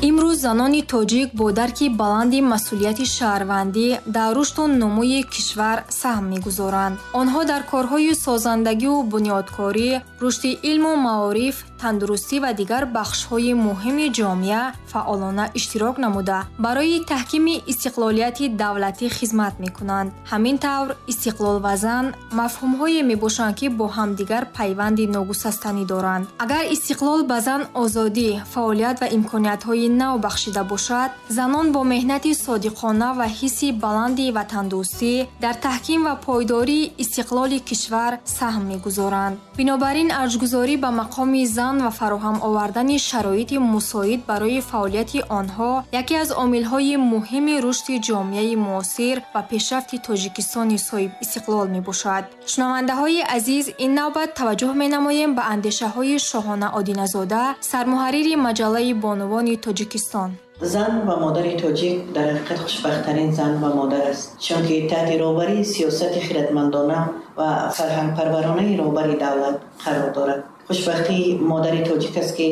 Имрӯз занони тоҷик бо дарки баланди масъулияти шаҳрвандӣ дар рушду нумӯи кишвар саҳм мегузоранд. Онҳо дар корҳои созандагиву бунёдкорӣ, рушди илму маориф, тандурустӣ ва дигар бахшҳои муҳими ҷомеа фаъолона иштирок намуда, барои таҳкими истиқлолияти давлатӣ хизмат мекунанд. Ҳамин тавр, истиқлол ва зан мафҳумҳое мебошанд, ки бо ҳамдигар пайванди ногусастанӣ доранд. Агар истиқлол ба зан озодӣ, фаъолият ва имкониятҳои нав бахшида бошад, занон бо меҳнати содиқона ва ҳисси баланди ватандӯстӣ дар таҳким ва пойдории истиқлоли кишвар саҳм мегузоранд. Бинобар ин, арҷгузорӣ ба мақоми зан ва фароҳам овардани шароити мусоид барои фаъолияти онҳо яке аз омилҳои муҳими рушди ҷомеаи муосир ва пешрафти Тоҷикистони соҳибистиқлол мебошад. Шунавандаҳои азиз, ин навбат таваҷҷӯҳ менамоем ба андешаҳои Шоҳона Одиназода, сармуҳаррири маҷаллаи бонувони Тоҷикистон. Зан ва модари тоҷик дар ҳақиқат хушбахттарин зан ва модар аст, чунки таҳти роҳбарии сиёсати хиратмандона ва фарҳангпарваронаи роҳбари давлат қарор дорад. Хушбахтии модари тоҷик аст, ки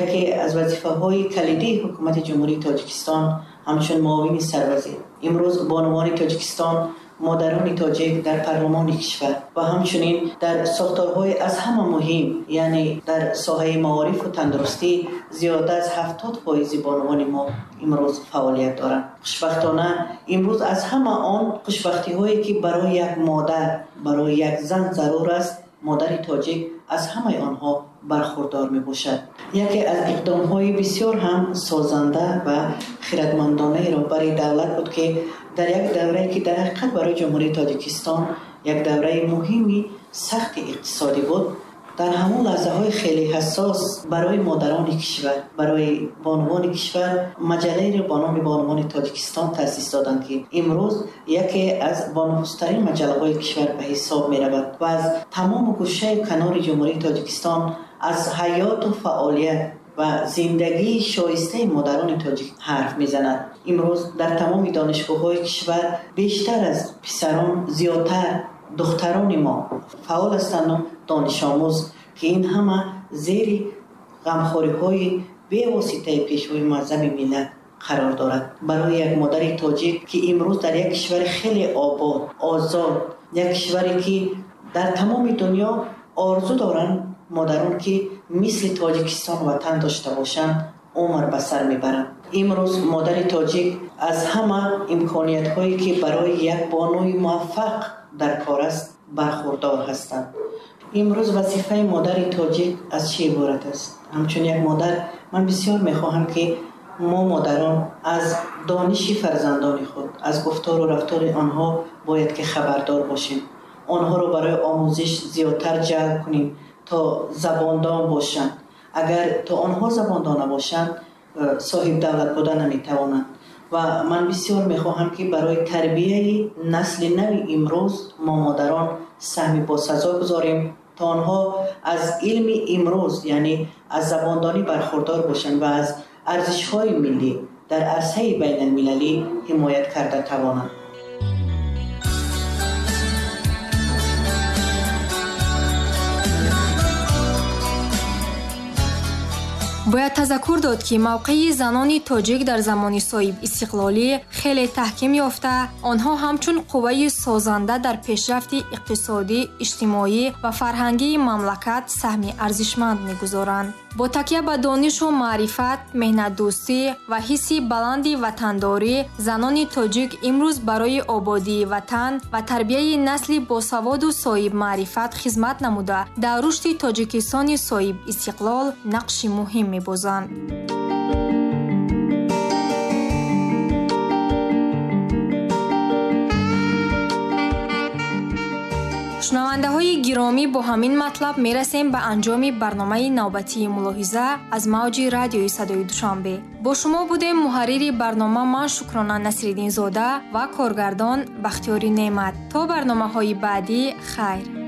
яке аз вазифаҳои калидии ҳукумати Ҷумҳурии Тоҷикистон ҳамчун муовини сарвазир имрӯз бонувони Тоҷикистон, модарони тоҷик дар парлумони кишвар ва ҳамчунин дар сохторҳои аз ҳама муҳим, яъне дар соҳаи маорифу тандурустӣ зиёда аз 70% бонувони мо имрӯз фаъолият доранд. Хушбахтона имрӯз аз ҳама он хушбахтиҳое, ки барои як модар, барои як зан зарур аст, модари тоҷик аз ҳамаи онҳо бархурдор мебошад. Яке аз иқдомҳои бисёр ҳам созанда ва хиратмандонаи роҳбари давлат буд, ки дар як даврае, ки дар ҳақиқат барои Ҷумҳурии Тоҷикистон як давраи муҳими сахти иқтисодӣ буд, дар ҳамон лаҳзаҳои хеле ҳассос барои модарони кишвар, барои бонувони кишвар маҷаллаеро бо номи Бонувони Тоҷикистон таъсис доданд, ки имрӯз яке аз бонуфузтарин маҷаллаҳои кишвар ба ҳисоб меравад ва аз тамому гӯшаю канори Ҷумҳурии Тоҷикистон аз ҳаёту фаъолият ва зиндагии шоистаи модарони тоҷик ҳарф мезанад. Имрӯз дар тамоми донишгоҳҳои кишвар бештар аз писарон зиёдтар духтарони мо фаъол ҳастанд донишомӯз, ки ин ҳама зери ғамхориҳои бевоситаи пешвои муаззами миллат қарор дорад. Барои як модари тоҷик, ки имрӯз дар як кишвари хеле обод, озод, як кишваре, ки дар тамоми дунё орзу доранд модарон, ки мисли Тоҷикистон ватан дошта бошанд, умр ба сар мебаранд. Имрӯз модари тоҷик аз ҳама имкониятҳое, ки барои як бонуи муваффақ дар кор аст, бархурдор ҳастанд. Имрӯз вазифаи модари тоҷик аз чӣ иборат аст? Ҳамчун як модар ман бисёр мехоҳам, ки мо модарон аз дониши фарзандони худ, аз гуфтору рафтори онҳо бояд ки хабардор бошем. Онҳоро барои омӯзиш зиёдтар ҷалб кунем, то забондон бошанд. Агар то онҳо забондон набошанд, соҳиб давлат буда наметавонанд. Ва ман бисёр мехоҳам, ки барои тарбияи насли нави имрӯз мо модарон саҳми босазо гузорем, то онҳо аз илми имрӯз, яъне аз забондонӣ бархурдор бошанд ва аз арзишҳои миллӣ дар арсаи байналмилалӣ ҳимоят карда тавонанд. Бояд тазаккур дод, ки мавқеи занони тоҷик дар замони соҳибистиқлолӣ хеле таҳким ёфта, онҳо ҳамчун қувваи созанда дар пешрафти иқтисодӣ, иҷтимоӣ ва фарҳангии мамлакат саҳми арзишманд мегузоранд. Бо такя ба донишу маърифат, меҳнатдӯстӣ ва ҳисси баланди ватандорӣ, занони тоҷик имрӯз барои ободии ватан ва тарбияи насли босаводу соҳибмаърифат хизмат намуда, дар рушди Тоҷикистони соҳибистиқлол нақши муҳим мебозанд. Шунавандаҳои гиромӣ, бо ҳамин матлаб мерасем ба анҷоми барномаи навбатии мулоҳиза аз мавҷи радиои Садои Душанбе. Бо шумо будем муҳаррири барнома ман Шукрона Насриддинзода ва коргардон Бахтиёри Неъмат. То барномаҳои баъдӣ хайр.